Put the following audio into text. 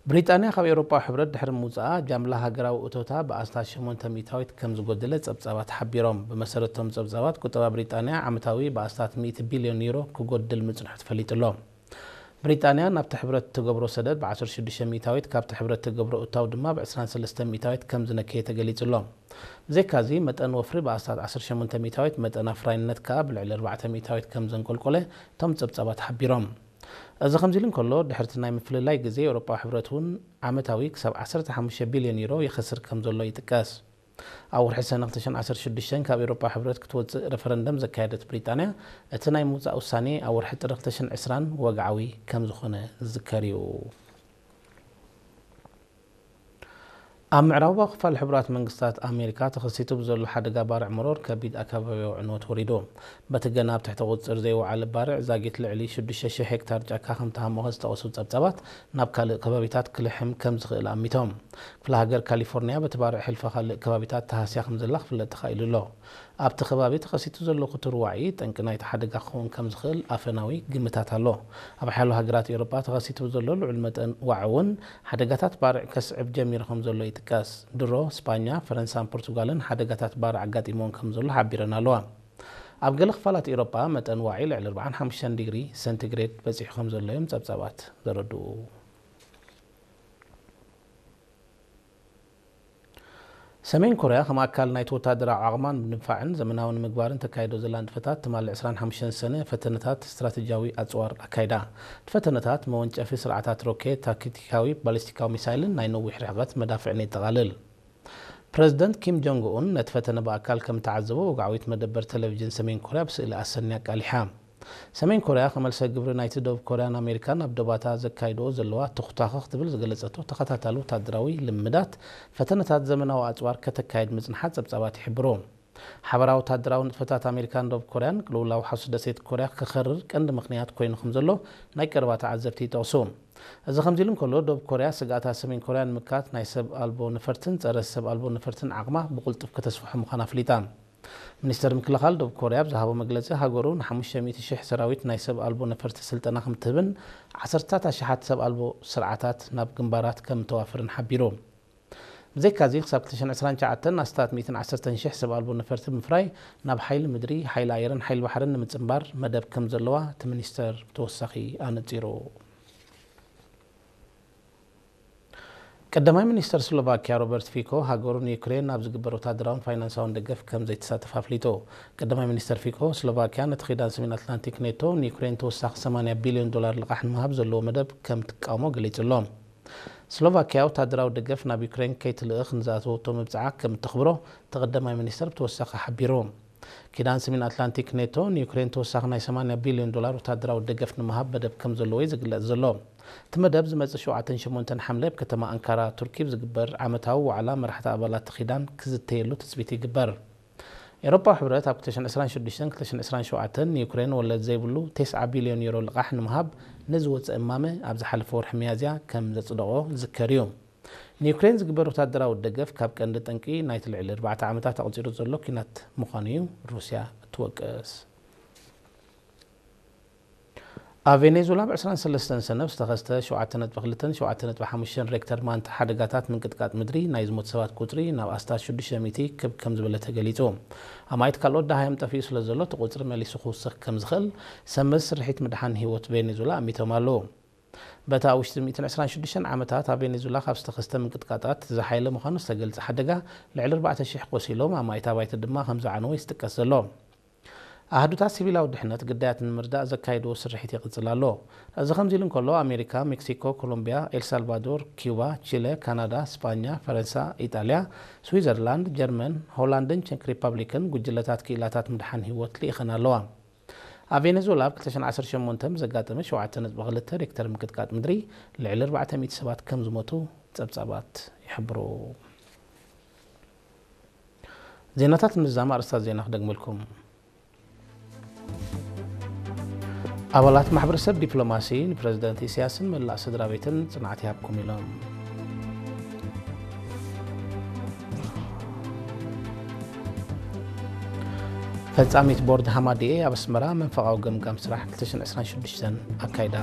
ብሪጣንያ ካብ ኤውሮጳዊ ሕብረት ድሕሪ ምውጻኣ፣ ጃምላ ሃገራዊ እቶታ ብኣስታት ሸሞንተ ሚእታዊት ከም ዝጎደለ ጸብጻባት ሓቢሮም። ብመሰረት እቶም ጸብጻባት፣ ቁጠባ ብሪጣንያ ዓመታዊ ብኣስታት ሚእቲ ቢልዮን ዩሮ ክጎድል ምጽንሑ ተፈሊጡ ኣሎ። ብሪጣንያ ናብቲ ሕብረት ትገብሮ ሰደድ ብዓሰርተ ሽዱሽተ ሚእታዊት፣ ካብቲ ሕብረት ትገብሮ እታው ድማ ብዕስራን ሰለስተን ሚእታዊት ከም ዝነከየ ተገሊጹ ኣሎ። ብዘይካዚ፣ መጠን ወፍሪ ብኣስታት ዓሰርተ ሸሞንተ ሚእታዊት፣ መጠን ኣፍራይነት ከኣ ብልዕሊ ኣርባዕተ ሚእታዊት ከም ዘንቆልቆለ እቶም ጸብጻባት ሓቢሮም። እዚ ከምዚ ኢሉ እንከሎ፣ ድሕርቲ ናይ ምፍልላይ ግዜ፣ ኤውሮጳዊ ሕብረት እውን ዓመታዊ ክሳብ ዓሰርተ ሓሙሽተ ቢልዮን ዩሮ ይኸስር ከም ዘሎ ይጥቀስ። ኣብ ወርሒ ሰነ ክልተ ሽሕን ዓሰርተ ሽዱሽተን ካብ ኤውሮጳዊ ሕብረት ክትወጽእ ረፈረንደም ዘካየደት ብሪጣንያ፣ እቲ ናይ ምውጻእ ውሳኔ ኣብ ወርሒ ጥሪ ክልተ ሽሕን ዕስራን ወግዓዊ ከም ዝኾነ ዝዝከር እዩ። ኣብ ምዕራባዊ ክፋል ሕቡራት መንግስታት ኣሜሪካ ተኸሲቱ ብዘሎ ሓደጋ ባርዕ መሮር ከቢድ ኣከባቢያዊ ዕንወት ወሪዱ። በቲ ገና ኣብ ትሕቲ ቁጽጽር ዘይወዓለ ባርዕ ዛጊት ልዕሊ ሽዱሽተ ሽሕ ሄክታር ጫካ ከም ተሃሞኸ ዝጠቐሱ ጸብጻባት፣ ናብ ካልእ ከባቢታት ክልሕም ከም ዝኽእል ኣሚቶም። ክፍለ ሃገር ካሊፎርኒያ በቲ ባርዕ ሕልፈ ካልእ ከባቢታት ተሃስያ ከም ዘላ ክፍለጥ ተኻኢሉ ኣሎ። ኣብቲ ከባቢ ተኸሲቱ ዘሎ ክቱር ዋዒ ጠንቂ ናይቲ ሓደጋ ክኸውን ከም ዝኽእል ኣፈናዊ ግምታት ኣሎ። ኣብ ሓያሎ ሃገራት ኤውሮጳ ተኸሲቱ ዘሎ ልዑል መጠን ዋዒ እውን ሓደጋታት ባርዕ ከስዕብ ጀሚሩ ከም ዘሎ ይጥቀስ። ድሮ ስጳኛ፣ ፈረንሳን ፖርቱጋልን ሓደጋታት ባርዕ ኣጋጢሞን ከም ዘሎ ሓቢረን ኣለዋ። ኣብ ገለ ክፋላት ኤውሮጳ መጠን ዋዒ ልዕሊ ኣርባዓን ሓሙሽተን ዲግሪ ሰንቲግሬድ በጺሑ ከም ዘሎ እዮም ጸብጻባት ዘረድኡ። ሰሜን ኮርያ ከም ኣካል ናይቲ ወታደራዊ ዓቕማ ንምድንፋዕን ዘመናዊ ንምግባርን ተካይዶ ዘላ ንጥፈታት፣ ትማሊ ዕስራን ሓሙሽተን ሰነ ፈተነታት ስትራተጂያዊ ኣጽዋር ኣካይዳ። እቲ ፈተነታት መወንጨፊ ስርዓታት ሮኬት፣ ታክቲካዊ ባሊስቲካዊ ሚሳይልን ናይ ነዊሕ ርሕቀት መዳፍዕን የጠቓልል። ፕረዚደንት ኪም ጆንግ ኡን ነቲ ፈተነ ብኣካል ከም እተዓዘቦ ወግዓዊት መደበር ቴሌቪዥን ሰሜን ኮርያ ብስእሊ ኣሰንያ ኣቃሊሓ። ሰሜን ኮርያ ከመልሰ ግብሪ ናይቲ ደቡብ ኮርያን ኣሜሪካን ኣብ ዶባታ ዘካይድኦ ዘለዋ ተኹታኸ ክትብል ዝገለጸቶ ተኸታታሊ ወታደራዊ ልምዳት ፈተነታት ዘመናዊ ኣጽዋር ከተካይድ ምጽንሓ ጸብጻባት ይሕብሩ። ሓበራዊ ወታደራዊ ንጥፈታት ኣሜሪካን ደቡብ ኮርያን ቅልውላው ሓውሲ ደሴት ኮርያ ክኸርር ቀንዲ ምኽንያት ኮይኑ ከም ዘሎ ናይ ቀረባ ተዓዘብቲ ይጠቕሱ። እዚ ከምዚ ኢሉ እንከሎ፣ ደቡብ ኮርያ ስግኣታት ሰሜን ኮርያ ንምክታት ናይ ሰብ ኣልቦ ነፈርትን ጸረ ሰብ ኣልቦ ነፈርትን ዓቕማ ብቕልጡፍ ከተስፍሖ ምዃና ኣፍሊጣ። ሚኒስተር ምክልኻል ደቡብ ኮርያ ኣብ ዝሃቦ መግለጺ፣ ሃገሩ ንሓሙሽተ ሚእቲ ሽሕ ሰራዊት ናይ ሰብ ኣልቦ ነፈርቲ ስልጠና ከም ትህብን ዓሰርታት ኣሽሓት ሰብ ኣልቦ ስርዓታት ናብ ግንባራት ከም እተዋፍርን ሓቢሩ። ብዘይካዚ፣ ክሳብ ክልተ ሽሕን ዕስራን ትሽዓተን ኣስታት ሚእትን ዓሰርተን ሽሕ ሰብ ኣልቦ ነፈርቲ ብምፍራይ ናብ ሓይሊ ምድሪ፣ ሓይሊ ኣየርን ሓይሊ ባሕርን ንምጽንባር መደብ ከም ዘለዋ እቲ ሚኒስተር ብተወሳኺ ኣነጺሩ። ቀዳማይ ሚኒስተር ስሎቫኪያ ሮበርት ፊኮ፣ ሃገሩ ንዩክሬን ኣብ ዝግበር ወታደራውን ፋይናንሳውን ደገፍ ከም ዘይትሳተፍ ኣፍሊጡ። ቀዳማይ ሚኒስተር ፊኮ፣ ስሎቫኪያ ነቲ ኪዳን ሰሜን ኣትላንቲክ ኔቶ ንዩክሬን ተወሳኺ ሰማንያ ቢልዮን ዶላር ልቓሕ ንምሃብ ዘለዎ መደብ ከም ትቃወሞ ገሊጹ ኣሎ። ስሎቫኪያ ወታደራዊ ደገፍ ናብ ዩክሬን ከይትልእኽ ንዝኣተወቶ መብጽዓ ከም እተኽብሮ እቲ ቀዳማይ ሚኒስተር ብተወሳኺ ሓቢሩ። ኪዳን ሰሜን ኣትላንቲክ ኔቶ ንዩክሬን ተወሳኺ ናይ ሰማንያ ቢልዮን ዶላር ወታደራዊ ደገፍ ንምሃብ መደብ ከም ዘለዎ እዩ ዝግለጽ ዘሎ። እቲ መደብ ዝመጽእ ሸውዓተን ሸሞንተን ሓምለ ኣብ ከተማ ኣንካራ ቱርኪ ብዝግበር ዓመታዊ ዋዕላ መራሕቲ ኣባላት እቲ ኪዳን ክዝተየሉ ትጽቢት ይግበር። ኤውሮፓዊ ሕብረት ኣብ ክልተ ሽሕን ዕስራን ሽዱሽተን ክልተ ሽሕን ዕስራን ሸውዓተን ንዩክሬን ወለድ ዘይብሉ ተስዓ ቢልዮን ዩሮ ልቓሕ ንምሃብ ንዝወጸ እማመ ኣብ ዝሓለፈ ወርሒ ሚያዝያ ከም ዘጽደቖ ዝዝከር እዩ። ንዩክሬን ዝግበር ወታደራዊ ደገፍ ካብ ቀንዲ ጠንቂ ናይቲ ልዕሊ ኣርባዕተ ዓመታት ኣቑጺሩ ዘሎ ኲናት ምዃኑ እዩ ሩስያ እትወቅስ። ኣብ ቬኔዙላ ኣብ ዕስራን ሰለስተን ሰነ ዝተኸስተ ሸውዓተ ነጥቢ ክልተን ሸውዓተ ነጥቢ ሓሙሽተን ሬክተር ማንታ ሓደጋታት ምንቅጥቃጥ ምድሪ ናይ ዝሞት ሰባት ቁጽሪ ናብ ኣስታት ሽዱሽተ ሚእቲ ክብ ከም ዝበለ ተገሊጹ። ኣማኢት ካልኦት ደሃዮም ጠፊኡ ስለ ዘሎ፣ እቲ ቁጽሪ መሊሱ ክውስኽ ከም ዝኽእል ሰብ መዚ ስርሒት ምድሓን ህይወት ቬኔዙላ ኣሚቶም ኣለዉ። በታ ኣብ ውሽጢ ሚእትን ዕስራን ሽዱሽተን ዓመታት ኣብ ቬኔዙላ ካብ ዝተኸስተ ምንቅጥቃጣት ዝሓየለ ምዃኑ ዝተገልጸ ሓደጋ፣ ልዕሊ ኣርባዕተ ሽሕ ቆሲሎም፣ ኣማኢት ኣባይቲ ድማ ከም ዝዓነወ እዩ ዝጥቀስ ዘሎ። ኣሃዱታት ሲቪላዊ ድሕነት ግዳያት ንምርዳእ ዘካየድዎ ስርሒት ይቕጽል ኣሎ። እዚ ከምዚ ኢሉ እንከሎ፣ ኣሜሪካ፣ ሜክሲኮ፣ ኮሎምቢያ፣ ኤልሳልቫዶር፣ ኪዩባ፣ ቺለ፣ ካናዳ፣ ስጳኛ፣ ፈረንሳ፣ ኢጣልያ፣ ስዊዘርላንድ፣ ጀርመን፣ ሆላንድን ቸክ ሪፓብሊክን ጉጅለታት ክኢላታት ምድሓን ህይወት ልኢኸን ኣለዋ። ኣብ ቬኔዙዌላ ኣብ ክልተ ሽሕን ዓሰርተ ሸሞንተን ብዘጋጠመ ሸውዓተ ነጥቢ ክልተ ሬክተር ምንቅጥቃጥ ምድሪ ልዕሊ ኣርባዕተ ሚእቲ ሰባት ከም ዝሞቱ ጸብጻባት ይሕብሩ። ዜናታት ምዝዛም ኣርእስታት ዜና ክደግመልኩም። ኣባላት ማሕበረሰብ ዲፕሎማሲ ንፕረዚደንት ኢሳያስን መላእ ስድራ ቤትን ጽንዓት ይሃብኩም ኢሎም። ፈጻሚት ቦርድ ሃማዲኤ ኣብ ኣስመራ መንፈቓዊ ገምጋም ስራሕ ክልተ ሽሕን ዕስራን ሽዱሽተን ኣካይዳ።